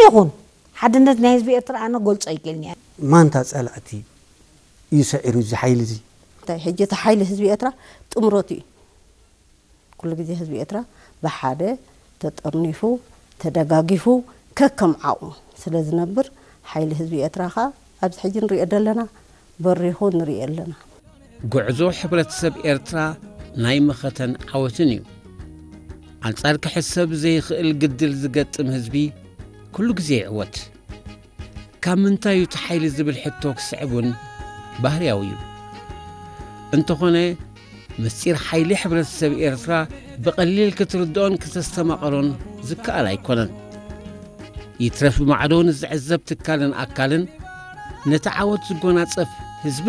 ይኹን ሓድነት ናይ ህዝቢ ኤርትራ ኣነ ገልጾ ኣይክእልን እየ። ማንታ ጸላእቲ እዩ ሰዒሩ እዚ ሓይሊ እዚ? እንታይ ሕጂ እቲ ሓይሊ ህዝቢ ኤርትራ ጥምረቱ እዩ። ኩሉ ግዜ ህዝቢ ኤርትራ ብሓደ ተጠርኒፉ ተደጋጊፉ ከከም ዓቕሙ ስለ ዝነብር ሓይሊ ህዝቢ ኤርትራ ኸኣ ኣብዚ ሕጂ ንሪኦ ዘለና በሪኹ ንሪኦ ኣለና። ጉዕዞ ሕብረተሰብ ኤርትራ ናይ መኸተን ዓወትን እዩ። ኣንጻር ክሕሰብ ዘይኽእል ግድል ዝገጥም ህዝቢ ኩሉ ግዜ ይዕወት። ካብ ምንታይ እዩ እቲ ሓይሊ ዝብል ሕቶ ክስዕብ እውን ባህርያዊ እዩ። እንተኾነ ምስጢር ሓይሊ ሕብረተሰብ ኤርትራ ብቐሊል ክትርድኦን ክተስተማቐሮን ዝከኣል ኣይኮነን። ይትረፍ ብማዕዶ ንዝዕዘብ ትካልን ኣካልን ነቲ ዓወት ዝጎናጸፍ